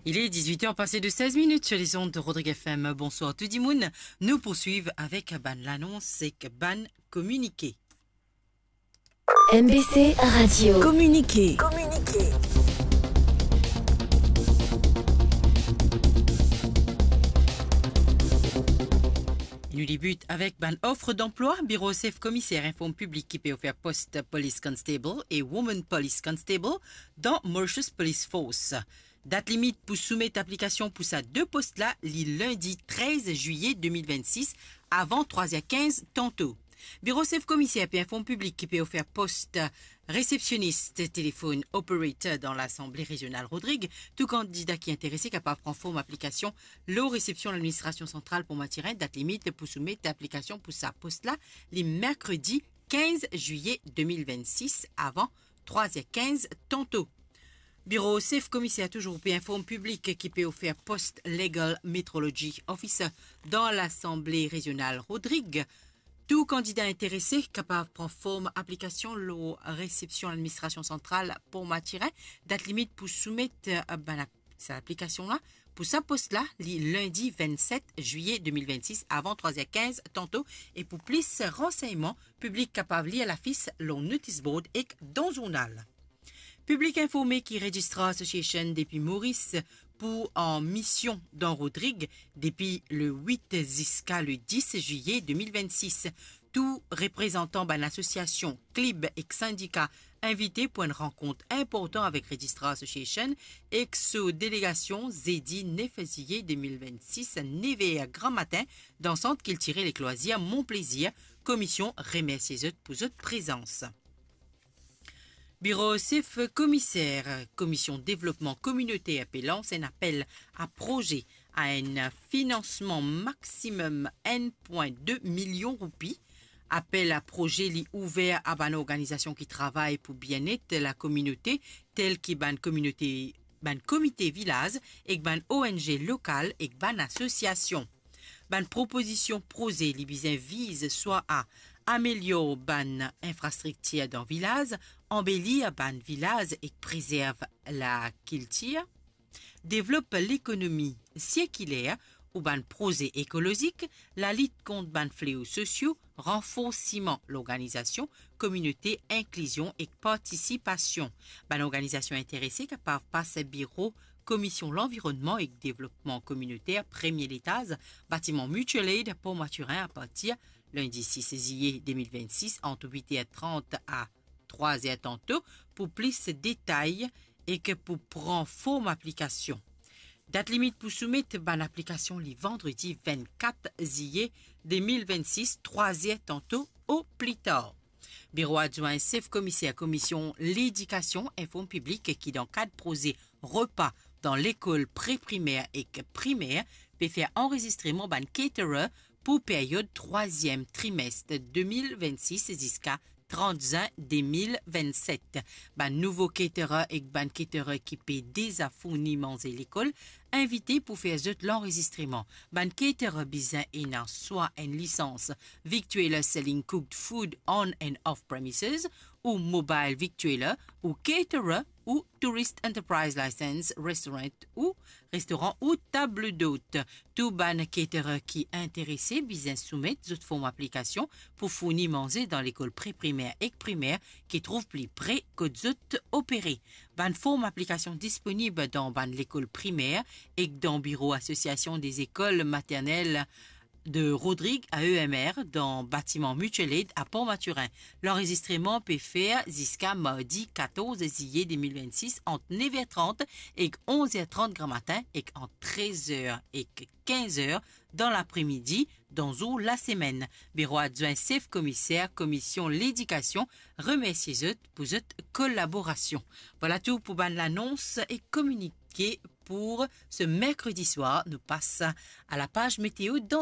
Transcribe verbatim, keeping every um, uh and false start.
Il est dix-huit heures passées de seize minutes sur les ondes de Rodrigue F M. Bonsoir tout dimoun. Nou poursuiv avek bann lanons ek bann kominike. M B C Radio. Kominike. Kominike. Nou debit avek bann ofer danplwa. Biro Sef Komiser inform piblik ki pe ofer post Police Constable e Woman Police Constable dan Mauritius Police Force. Dat limit pou soumet aplikasion pou sa de post la, li lindi trez zilye de mil vennsis, avan trwa er kinz tanto. Biro Sef Komiser pe inform piblik ki pe ofer post resepsionis telefonn operator dan Lasanble Rezional Rodrig. Tou kandida ki interese kapav pran form aplikasion lor resepsion Ladministrasion Santral Pont Mathurin. Dat limit pou soumet aplikasion pou sa post la, li merkredi kinz zilye de mil vennsis, avan trwa er kinz tanto. Biro Sef Komiser touzour pe inform piblik ki pe ofer post Legal Metrology Officer dan Lasanble Rezional Rodrig. Tou kandida interese kapav pran form aplikasion lor resepsion Ladministrasion Santral Pont Mathurin. Dat limit pou soumet, eh, bann ap-, sa aplikasion la, pou sa post la, li lindi vennset zilye de mil vennsis, avan trwa er kinz tanto. E pou plis ransegnman, piblik kapav lir lafis lor notice board ek dan zournal. Piblik informe ki Registrar Association depi Moris pou an mision dan Rodrig depi le wit ziska le dis zilye de mil vennsis. Tou reprezantan bann asosiasion, klib ek sindika invite pou enn rankont inportan avek Registrar Association ek so delegasion, zedi nef zilye de mil vennsis, nef er gramatin, dan Sant Kiltirel ek Lwazir Mon Plezir. Komision remersie zot pou zot prezans. Biro Sef Komiser, Komision Devlopman Kominoter pe lans enn apel a proze a enn finansman maximum enn pwin de milion roupi. Apel a proze li ouver a bann organizasion ki travay pou bienet lakominote, tel ki bann kominote, bann komite vilaz ek bann O N G lokal ek bann asosiasion. Bann propozision proze li bizin viz swa a amelior bann infrastriktir dan vilaz, anbelir bann vilaz ek prezerv lakiltir, devlop lekonomi sirkiler ou bann proze ekolozik, lalit kont bann fleo sosio, ranforsiman lorganizasion kominote, inklizion ek partisipasion. Bann organizasion interese kapav pas biro Komision Lanvironnman ek Devlopman Kominoter, premie letaz, batiman Mutual Aid, Port Mathurin, apartir lindi sis zilye de mil vennsis, ant wit er trant a trwa er tanto, pou plis detay ek pou pran form aplikasion. Dat limit pou soumet bann aplikasion li vandredi vennkat zilye de mil vennsis, trwa er tanto o pli tar. Biro Adwin Sef Komiser Komision Ledikasion inform piblik ki dan kad proze repa dan lekol pre-primer ek primer, pe fer anrezistreman bann caterer pou period trwaziem trimes de mil vennsis ziska trant zin de mil vennset. Bann nouvo caterer ek bann caterer ki pe deza fourni manze lekol invite pou fer zot lanrezistreman. Bann caterer bizin ena swa enn lisans Victualler Selling Cooked Food on and Off Premises, ou Mobile Victualler, ou Caterer, ou Tourist Enterprise License, Restaurant ou restoran ou table d'hôte. Tou bann caterer ki interese bizin soumet zot form aplikasion pou fourni manze dan lekol pre-primer ek primer ki trouv pli pre kot zot opere. Bann form aplikasion disponib dan bann lekol primer ek dan biro Asosiasion dez Ekol Maternel de Rodrig, A E M R, dan batiman Mutual Aid a Port Mathurin. Lanrezistreman pe fer ziska mardi katorz zilye de mil vennsis ant nef er trant ek onz er trant gramatin ek ant trez er ek kinz er dan lapre-midi dan zour lasemenn. Biro Adwin Sef Komiser Komision Ledikasion remersie zot pou zot kolaborasion. Vwala tou pou bann lanons e kominike pou se merkredi swar. Nou pas a lapaz meteo dan